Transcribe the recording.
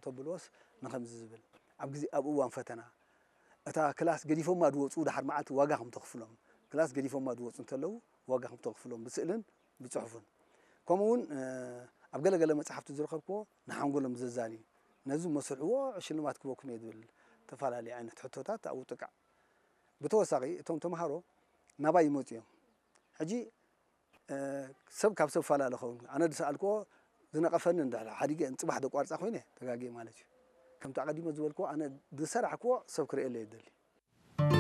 ተብልዎስ ንኸምዚ ዝብል ኣብ ግዜ ኣብ እዋን ፈተና እታ ክላስ ገዲፎማ ዝወፁ ድሓር መዓልቲ ዋጋ ከም ተኽፍሎም ክላስ ገዲፎማ ዝወፁ እንተለዉ ዋጋ ከም ተኽፍሎም ብስእልን ብፅሑፍን ከምኡ እውን ኣብ ገለገለ መፅሓፍቲ ዝረኸብክዎ ንሓንጎሎም ዘዛንዩ ነዚ መስርሕዎ ሽልማት ክበኩም እየ ዝብል ተፈላለዩ ዓይነት ሕቶታት ኣብኡ ጥቃዕ ብተወሳኺ እቶም ተምሃሮ ናባይ ይመፁ እዮም ሕጂ ሰብ ካብ ሰብ ፈላለ ኸውን ኣነ ዝሰኣልክዎ ዝነቐፈኒ እንድሕር ሓዲገ ንፅባሕ ደቋርፃ ኮይነ ተጋጊየ ማለት እዩ ከምቲ ኣቐዲመ ዝበልክዎ ኣነ ዝሰራሕክዎ ሰብ ክርእየለ ይደሊ